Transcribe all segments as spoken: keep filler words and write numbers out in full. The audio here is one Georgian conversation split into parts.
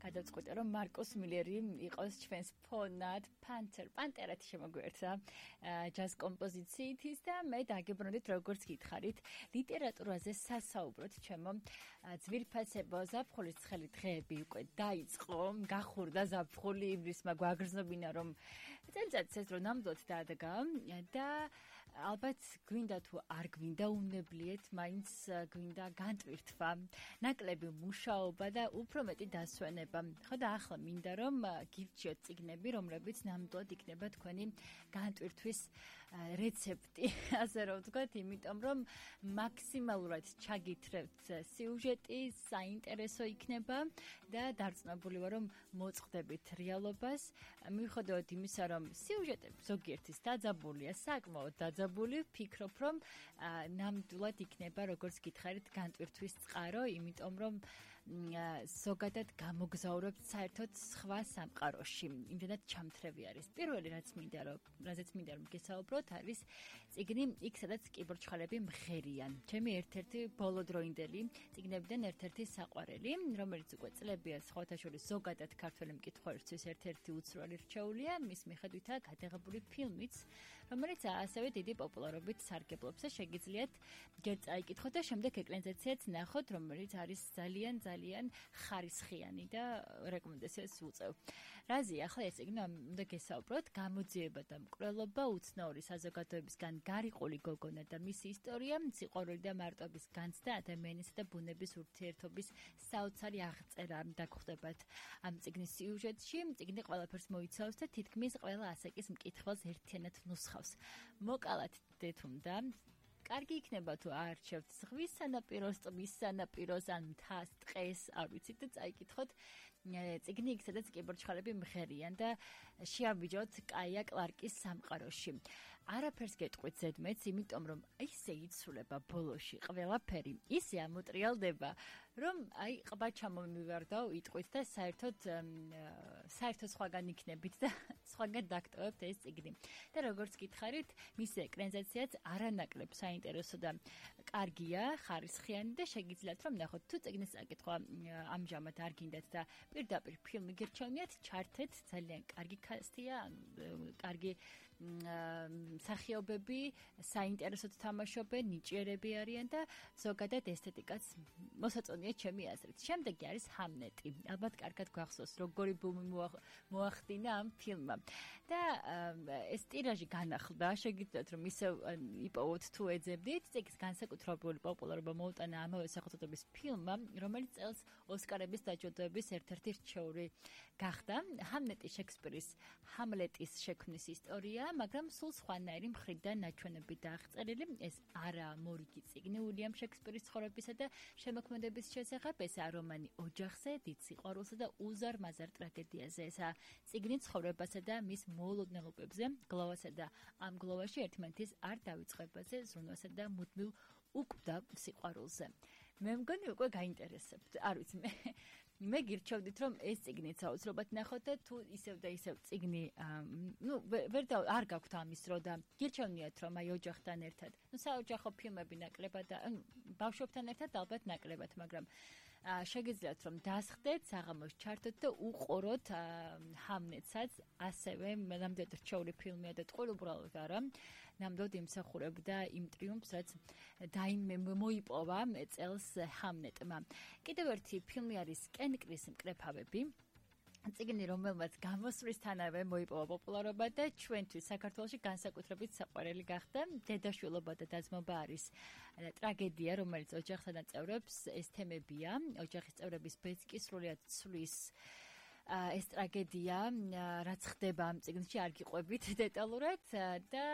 გადავწყვიტე, რომ მარკუს მილერი იყოს ჩვენს ფონად პანთერ, პანტერად შემოგვერთა ჯაზ კომპოზიციით ის და მე დაგებრუნდით როგორც გითხარით, ლიტერატურაზე სასაუბროთ ჩემო ძვირფასებო ზაფხულის ცხელი დღეები უკვე დაიწყო, გახურდა ზაფხული, ივლისმა გვაგრძნობინა რომ წელიწადს ეს რომ ნამდვილად დადგა და ალბათ გვინდა თუ არ გვინდა უნებლიეთ, მაინც გვინდა განტვირთვა, ნაკლები მუშაობა და უფრო მეტი დასვენება. ხო და ახლა მინდა რომ გირჩიოთ წიგნები, რომლებიც ნამდვილად იქნება თქვენი განტვირთვის რეცეპტი, ასე რომ ვთქვათ, იმიტომ რომ მაქსიმალურად ჩაგითრევთ სიუჟეტი, საინტერესო იქნება და დარწმუნებული ვარ, რომ მოწყდებით რეალობას, მიუხედავად იმისა, რომ სიუჟეტები ზოგიერთის დაძაბულია, საკმაოდ დაძაბული, ვფიქრობ, რომ ნამდვილად იქნება, როგორც გითხარით, განტვირთვის წყარო, იმიტომ რომ ზოგადად გამოგზაურებთ საერთოდ სხვა სამყაროში. იმდენად ჩამთრევი არის. პირველი რაც მინდა რომ რაზეც მინდა რომ გესაუბროთ არის წიგნი იქ სადაც კიბორჩხალები მღერიან. ჩემი ერთ-ერთი ბოლოდროინდელი წიგნებიდან ერთ-ერთი საყვარელი, რომელიც უკვე წლებია სხვათა შორის ზოგადად ქართველი მკითხველისთვის ერთ-ერთი უცვლელი რჩეულია, მის მიხედვითაა გადაღებული ფილმიც, რომელიც ასევე დიდი პოპულარობით სარგებლობს და შეგიძლიათ ჯერ წაიკითხოთ და შემდეგ ეკრანიზაციაც ნახოთ, რომელიც არის ძალიან ძალიან ხარისხიანი და რეკომენდაციას უწევ. რაზეა ახლა ეს წიგნი უნდა გესაუბროთ, გამოძიება და მკვლელობა, უცნაური საზოგადოებისგან გარიყული გოგონა და მისი ისტორია, სიყვარული და მარტოობის განცდა, ადამიანისა და ბუნების ურთიერთობის საოცარი აღწერა დაგხვდებათ ამ წიგნის სიუჟეტში. წიგნი ყველაფერს მოიცავს და თითქმის ყველა ასაკის მკითხველს ერთიანად ნუსხავს. მოკალათ დეთუნდა კარგი იქნება თუ აარჩევთ ზღვის სანაპიროს, ტბის სანაპიროს ან მთას, ტყეს, არ ვიცით და წაიკითხოთ წიგნი იქ სადაც კიბორჩხალები მღერიან და შეავიჯოთ კაია კლარკის სამყაროში. არაფერს გეტყვით ზედმეტს, იმიტომ რომ ისე იცვლება ბოლოში ყველაფერი, ისე ამოტრიალდება, რომ აი ყბა ჩამომივარდა იტყვით და საერთოდ საერთოდ სხვაგან იქნებით და სხვაგან დაგტოვებთ ეს წიგნი. და როგორც გითხარით, მისი ეკრანიზაციაც არანაკლებ საინტერესო და კარგია, ხარისხიანი და შეგიძლიათ რომ ნახოთ თუ წიგნის წაკითხვა ამჟამად არ გინდათ და პირდაპირ ფილმი გირჩევნიათ, ჩართეთ, ძალიან კარგი კასტია, კარგი მსახიობები, საინტერესოდ თამაშობენ, ნიჭიერები არიან და ზოგადად ესთეტიკაც მოსაწონია ჩემი აზრით. შემდეგი არის ჰამლეტი. ალბათ კარგად გახსოვს, როგორი ბუმი მოახდინა ამ ფილმმა. და ეს ტირაჟი განახლდა, შეგიძლიათ რომ ისევ იპოვოთ თუ ეძებდით, წიგნის განსაკუთრებული პოპულარობა მოუტანა ამავე სახელწოდების ფილმმა, რომელიც წელს ოსკარების დაჯილდოების ერთ-ერთი რჩეული გახდა. ჰამლეტი შექსპირის ჰამლეტის შექმნის ისტორია, მაგრამ სულ სხვანაირი მხრიდან ნაჩვენებით დააღწერილი. ეს არა მორიგი წიგნი უილიამ შექსპირის ცხოვრებისა და შემოქმედების შესახებ, ესაა რომანი ოჯახზე, დიდ სიყვარულსა და უზარ-მაზარ ტრაგედიაზე. ესაა წიგნი ცხოვრებასა და მის მოულოდნელობებზე, გლოვასა და ამ გლოვაში ერთმანეთის არ დავიწყებაზე, ზრუნვასა და მუდმივ უკვდავ სიყვარულზე. მე მგონი უკვე გაინტერესებთ. არ ვიცი მე მე გირჩევდით რომ ეს წიგნიც აუცილებლად ნახოთ და თუ ისევ და ისევ წიგნი ნუ ვერ და არ გაქვთ ამის დრო და გირჩევნიათ რომ აი ოჯახთან ერთად ნუ საოჯახო ფილმები ნაკლებად და ბავშვებთან ერთად ალბათ ნაკლებად, მაგრამ შეგიძლიათ რომ დასხდეთ, საღამოს ჩართოთ და უყუროთ ჰამლეტსაც, ასევე ნამდვილად რჩეული ფილმია და ტყუილ უბრალოდ არა, ნამდვილად იმსახურებდა იმ ტრიუმფს, რაც მოიპოვა წელს ჰამლეტმა. კიდევ ერთი ფილმი არის კენკრის მკრეფავები. წიგნი, რომელმაც გამოსვლისთანავე მოიპოვა პოპულარობა და ჩვენთვის საქართველოში განსაკუთრებით საყვარელი გახდა. დედაშვილობა და დაძმობა არის ტრაგედია, რომელიც ოჯახთან აწევრებს, ეს თემებია. ოჯახის წევრების ბეწკი სრულიად ცვლის ეს ტრაგედია, რაც ხდება ამ წიგნში, არ გიყვებით დეტალურად და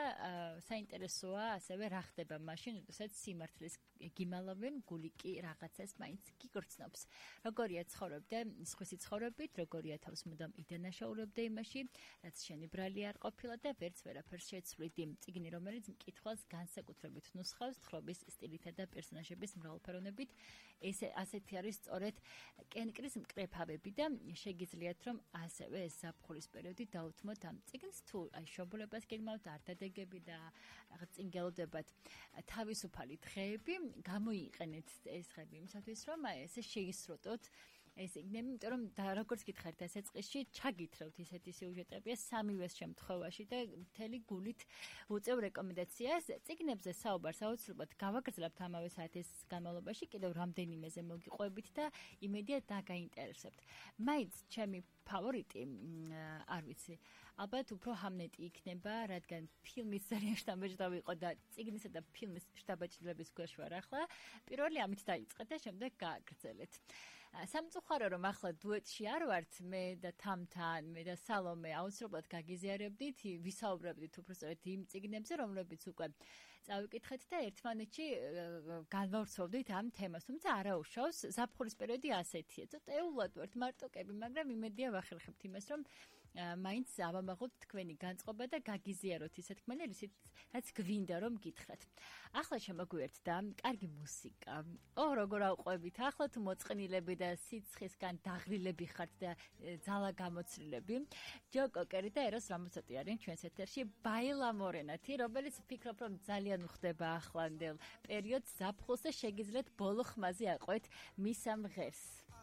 საინტერესოა ასევე რა ხდება მაშინ, როდესაც სიმართლის გიმალავენ, გული კი რაღაცას მაინც გიგრძნობს. როგორია ცხოვრობდა სხვისი ცხოვრებით, როგორია თავს მუდამ იდანაშაულებდა იმაში, რაც შენი ბრალი არ ყოფილა და ვერც ვერაფერს შეცვლით. წიგნი, რომელიც მკითხველს განსაკუთრებით ნუსხავს თხრობის სტილითა და პერსონაჟების მრავალფეროვნებით. ესე ასეთი არის სწორედ კენკრის მკრეფავები და შეგიძლიათ რომ ასევე ეს ზაფხულის პერიოდი დაუთმოთ ამ წიგნს, თუ აი შობლებას გეგმავთ, არ დადეგები და რაღაც წინგელოდებათ თავისუფალი დღეები, გამოიყენეთ ეს დღეები იმისათვის, რომ აი ესე შეისრუტოთ ეს იქნება, იმიტომ რომ და როგორც გითხარით ეს ეწყისში ჩაგითხრევთ ისეთი სიუჟეტებია სამივე შემთხვევაში და მთელი გულით უწევ რეკომენდაციას. წიგნებზე საუბარს აუცილებლად გავაგრძელებთ ამავე საათის განმავლობაში კიდევ რამდენიმეზე მოგიყვებით და იმედია დაგაინტერესებთ. მაინც ჩემი ფავორიტი არ ვიცი. ალბათ უფრო ჰამლეტი იქნება, რადგან ფილმის ძალიან შთამბეჭდავი იყო და წიგნისა და ფილმის შთაბეჭდილების ქვეშ ვარ ახლა. პირველი ამით დაიწყეთ და შემდეგ გააგრძელეთ. სამწუხარო რომ ახლა დუეტში არ ვართ, მე და თამთან, მე და სალომე აუცილებლად გაგიზიარებდით, ვისაუბრებდით უბრალოდ იმ წიგნებზე, რომლებიც უკვე წავიკითხეთ და ერთმანეთში განვავრცობდით ამ თემას. თუმცა არა უშავს, ზაფხულის პერიოდი ასეთია. ცოტა ეულად ვართ მარტოკები, მაგრამ იმედია ვახერხებთ იმას, რომ მაინც ავამაღოთ თქვენი განწყობა და გაგიზიაროთ ისეთ ხმელერ, რაც გვინდა რომ გითხრათ. ახლა შემოგვიერთდა კარგი მუსიკა. ო, როგორ ავყვებით, ახლა თუ მოწყნილები და სიცხისგან დაღლილები ხართ და ძალა გამოცდილები. ჯო კოკერი და ეროს რამოსოტი არიან ჩვენს ეთერში ბაილა მორენათი, რომელიც ვფიქრობ, რომ ძალიან უხდება ახლანდელ პერიოდს ზაფხულს და შეგიძლიათ ბოლო ხმაზე აყვეთ მის ამ ღერს.